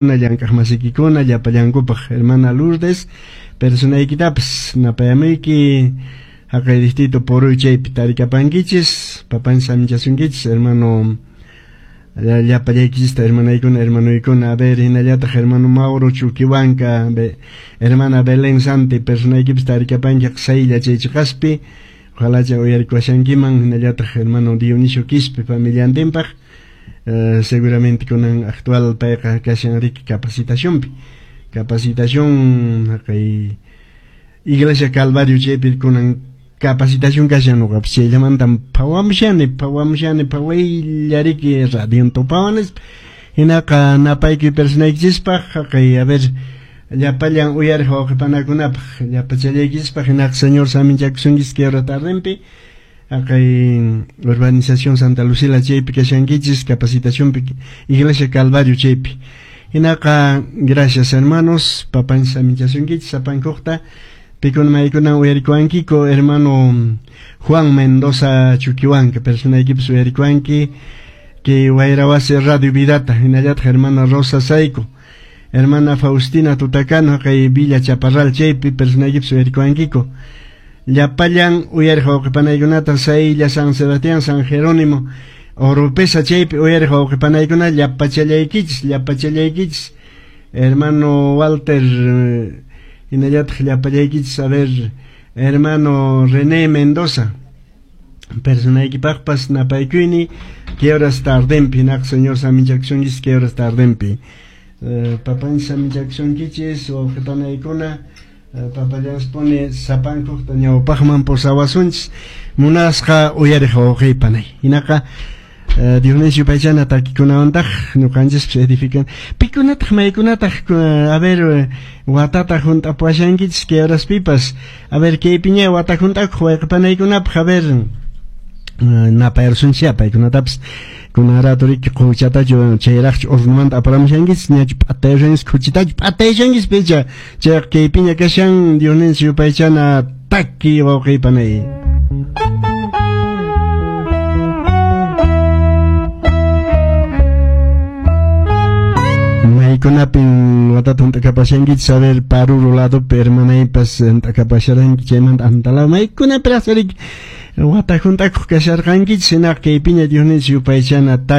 Llank'aqmasikikuna llapallankupaq hermana Lourdes personaykitapas napayamuyki haqay distrito Poroy chaypi tarikapankichis papanchis saminchasunkichis hermano llapallaykichista hermanaykuna hermanoykuna a ver hinallataq hermano Mauro Chuquihuanca hermana Belén Santi personaykipas tarikapanki saylla chay chiqaspi ojalacha uyarikuashankiman hinallataq hermano Dionisio Quispe familiantinpaq. Seguramente kunan actual payqa kashan riki capacitacionpi capacitación haqay Iglesia Calvario chaypi kunan capacitación kashan nuqapas chayllamantan phawamushani phawamushani phawaylla riki radion tupawan hinaqa napayki personaykichispaq haqay a ver llapallan uyariq wawqipanakunapaq llapachallaykichispaq hinaqa Señor saminchakusunkichis kay hora tardenpi haqay urbanización Santa Lucila chaypi kashankichis capacitacionpi Iglesia Calvario chaypi hinaqa gracias hermanos papanchis saminchasunkichis sapankuqta pikuna maykuna uyarikuwankiku hermano Juan Mendoza Chuquihuanca personaykipas uyarikuwanki kay Wayrawasi Radio Vidata hinallataq hermana Rosa Saico hermana Faustina Tutacano haqay Villa Chaparral chaypi personaykipas uyarikuwankiku llapallan uyariq wawqipanaykunata Saylla San Sebastián San Jerónimo Oropesa chaypi uyariq wawqipanaykuna llapachallaykichis llapachallaykichis hermano Walter hinallataq llapallaykichis a ver hermano René Mendoza personaykipaqpas napaykuyni kay horas tardenpi hinaqa Señor saminchakusunkichis kay horas tardenpi papanchis saminchakusunkichis wawqipanaykuna papallanspuni sapankuqta ñawpaqman pusawasunchis munasqa uyariq wawqiypanay hinaqa Diosninchis yupaychana takikunawantaq ñuqanchispas edifican pikunataq maykunataq a ver watata hunt'apuwashankichis kay horaspipas a ver kaypiña wata hunt'akuq wayqipanaykunapaq a ver napayarsunchis paykunatapas kunan rato riki quchatachu chayraqchu hornomanta aparamushankichis ñachu p'atayushankichis khuchitachu p'atayushankichis picha chayqa kaypiña kashan Diosninchis yupaychana taki wawqiypanay. Maykunapin watata hunt'akapashankichis a ver Paruro ladopi hermanaypas hunt'akapasharanki chaymanta antalaw maykunapiraq riki wata hunt'akuq kasharqankichis hinaqa kaypiña Diosninchis yupaychana taki.